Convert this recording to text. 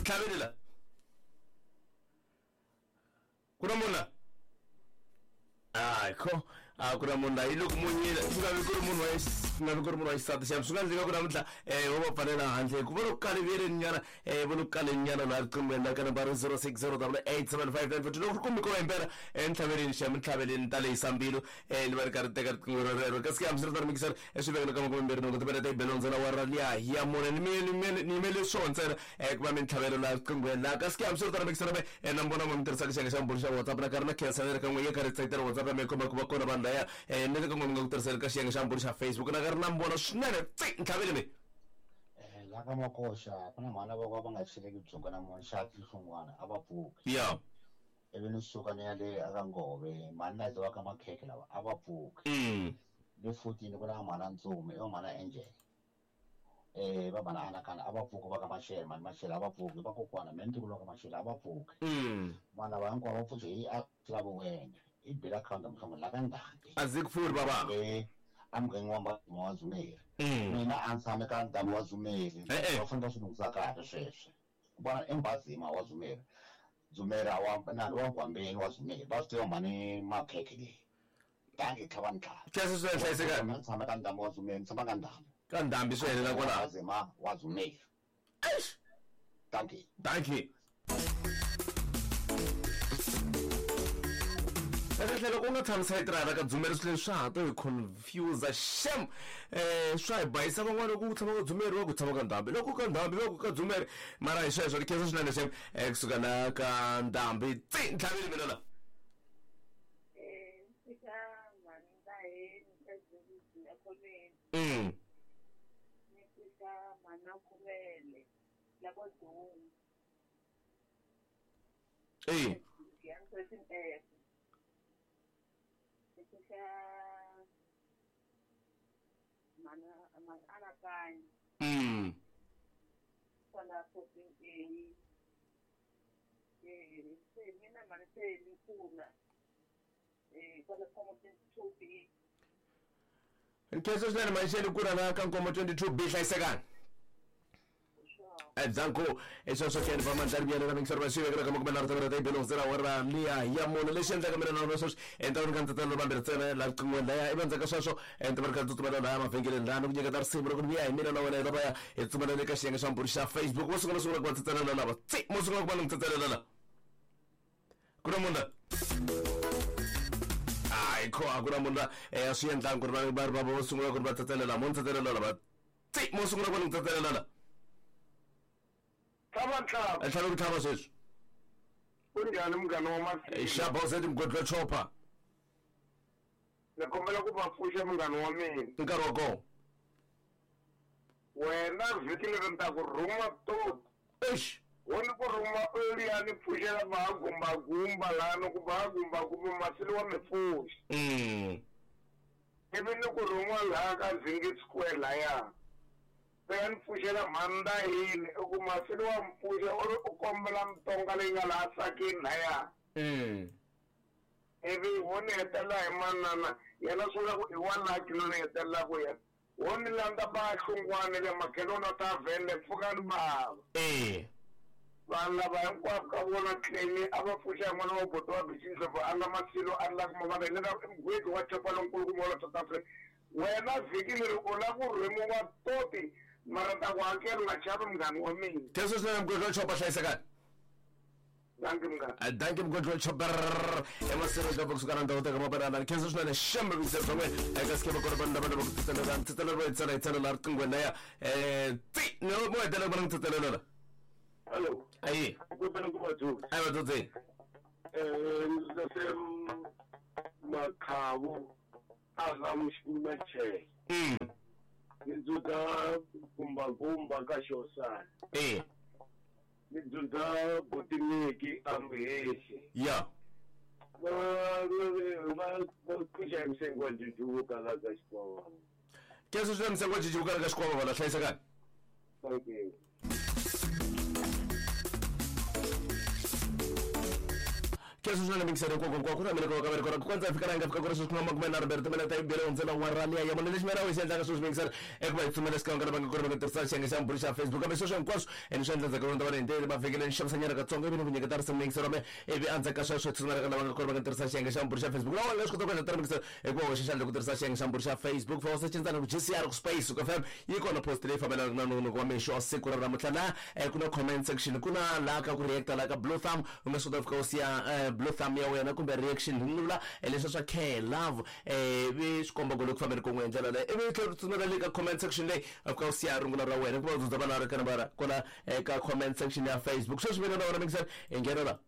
Tlhaveli la. Ku na munhu la? Hayi kho a ku na munhu la yi loko munyile swi nga vi ku ri munhu wa swi nga vi ku ri munhu wa xisati xa swi nga endleka ku namuntlha vo va pfalela handle hikuva loko kaliviyeleni nyana vo loko kaleni nyana laha riqinghweni la ka nambara 060 875 loko ri kumbe ko va impela entlhaveleni xa mintlhaveleni ta lehisa mbilu ni va ri karhi teka riqingho rero kasi ke hambiswiritano mikisari eswivekelo ka makumembirhi nhungu timele ta ibelo ntsena wa ra liya ya mune ni yimele swona ntsena ku va mintlhavelo laha riqinghweni laha kasi ke hambiswiritano mikisari me na mbona mi tirhisaka xiyenge xa mbulu xa WhatsApp na karhi na khensa ni ri ka n'we ye karhi tsakitela WhatsApp ya me komba ku va kona vanhu laya ni le ka n'we mi nga ku tirhiseni ka xiyenge xa mbulu xa Facebook na karhi na mbona swinene tsi ntlhaveli mi. La ka Makoxa ku na mhana va va nga cheleki byongo na munhu xa tinhlungwana a va pfuki. Ya. Ivi ni suka ni ya le aka Ngove mhani na va ka makhekhe lava a va pfuki. Le 14 ku na mhana Ntsumi i va mhana Angel. Va mhana Anakana a va pfuki va ka Mashele mhani Mashele a va pfuki va kokwana me ni ntukulu wa ka Mashele a va pfuki. Vanhu lava hinkwavo va pfuki hi a lavo wena i bela akhawunti mhlongo la ka Ndhambi. A ndzi ku pfuri baba. A mugangeni wa Mbhazima wa Dzumeri. Mina a ndzi tshame ka Ndhambi wa Dzumeri. Va fanele va swi lunghisa kahle sweswo. Vona i Mbhazima wa Dzumeri. Dzumeri a wa na wa Nkwambeni wa Dzumeri. Va swi tiva mhani makhekhe leyi. Dankie tlhava ni tlhava. Khensa swinene hlayisekani. Mina ndzi tshama ka Ndhambi wa Dzumeri, ni tshama ka Ndhambi. Ka Ndhambi swi helela kwalaho. Mbhazima wa Dzumeri. Eish. Dankie. Dankie. Kahle loko u nga tshami sayiti ra ka Dzumeri swilo leswi swa ha to hi confuse shem swa hi bayisa van'wana loko ku tshama ka Dzumeri va ku tshama ka Ndhambi loko ka Ndhambi va ku ka Dzumeri mara hi sweswo ni khensa swinene shem kusuka la ka Ndhambi tsi ntlhaveli mina la. Eyi. Nkhensa swinene Maxele ku rhanga ka Nkomo 22 B hlayisekani. Danko sweswo ke va mandla riviyela na mingisero va xi vekela ka makume nharhu ta ta ibelo ntsena wa ra liya ya mune lexi endlaka mina na sweswi enta ri ka ndzi vambirhi ntsena la riqinghweni laya ivi endzhaku ka sweswo enta va ri kha tsutsumela laya mavhengeleni laha ni ku nyiketa risimu loko ni vuya hi mina na wena hi ta va ya hi tsutsumela le ka xiyenge xa mbulu xa Facebook mo sungula sungula ku va tsitselela lava tsi mo sungula ku va ni n'wi tsitselela la ku na munhu la hayi kho a ku na munhu la a swi endlangi ku ri va va va vo sungula ku ri va tsetselela mo ni tsetselela lava tsi mo sungula ku ni tsetselela la Tlhava ntlhava. Tlhava ku tlhava sweswi. Kunjhani munghana wa masiku? Xa boset mugodi wa chopa. Ni kombela ku va pfuxa munghana wa mina. Nkarhi wa kona. Wena vhiki leri ni ta ku rhuma toti. Eish. Wo ni ku rhuma u ya ni pfuxela va gumbagumba laha ni ku va gumbagumba masili wa mi pfuxa. Ivi ni ku rhuma laha ka Zingi Square lahaya. U ya ni pfuxela mhani Ndahini u ku masili wa mi pfuxa u ri u kombela mitonga leyi nga laha sakeni lahaya. Ivi wo ni hetelela hi manana yena swi vula ku i wa lucky loyi ni hetelelaka yena. Wo ni landza ba Hlungwane le Makheloni wa Tavern le Pfukani bava. Vanhu lava hinkwavo ka vona Clemy a va pfuxa hi n'wana wa buti wa Bichi Ndlovu a nga Masilo a ri la ku mavana hi lera i mugwedi wa chopa lonkulukumba wa la South Africa. Wena vhiki leri u la ku rhemiwa toti mara ta ku hakela u nga chavi munghana wa mina. Khensa swinene mugwedi wa chopa hlayisekani. Dankie munghana. Dankie mugwedi wa chopa emasirho ka kusuka na ndhawu ta ka mabanana. Khensa swinene shembe vuyiselo bya n'wina eka sikema kona vanhu lava lava ku tsetselela tsetselela va tsala hi tsala la riqinghweni laya ti ni mo hetelela ku va ni ku tsetselela la. Hello. Ayi. Ku ku va dzudzi. Ayi va dzudzi. Ndzi Makhavu a nga Machele. Ni dzudza gumbagumba ka Xosana. Ni dzudza Botiniki a Muhehli. Ya. Va va pfuxa hi msengo wa Jijivuka la ka Xikwavava. Khensa swinene msengo wa Jijivuka la ka Xikwavava la hlayisekani. Thank you. ri sweswi na mingiselo hinkwako hinkwako ku na mina ka ka ku kondza fika la nga fika ku ri sweswi kuma makume nharhu mbirhi timinete yi bele hundzela wa liya ya mune lexi mina xi endlaka sweswi mingiselo i ku va hi tsumela xikan'we ka lava nga ku ri va nga tirhisa xiyenge xa mbulu xa Facebook, kambe sweswo hinkwaswo ene swi endla ndzhaku ka va hi mavhengeleni xavisanyana katsongo ivi ni ku nyiketa risimu mingiselo me ivi endzhaku ka sweswo hi tsumela ka lava nga ku ri va nga tirhisa xiyenge xa mbulu xa Facebook. Lawa nga swi kota ku endla mingiselo i ku va hoxa xandla ku tirhisa xiyenge xa mbulu xa Facebook, fa u search ku GCR ku space ku FM, yi kona post leyi fambelanaka na nongonoko wa mixo wa siku ra namuntlha. Laha ku na comment section, ku na laha ka ku reacta, laha ka blue thumb u nga swi kota ku fika u siya blue thumb ya wena kumbe reaction, ni vula leswi swa care love, vi swi komba ku le ku fambeni kun'we hi ndlela leyi, ivi tlhela u tsutsumela le ka comment section leyi u fika u siya rungula ra wena, ku va u dzudza vanhu va ri ka nambara kwala eka comment section ya Facebook. Sweswi mina na wena mingisela hi nghena la.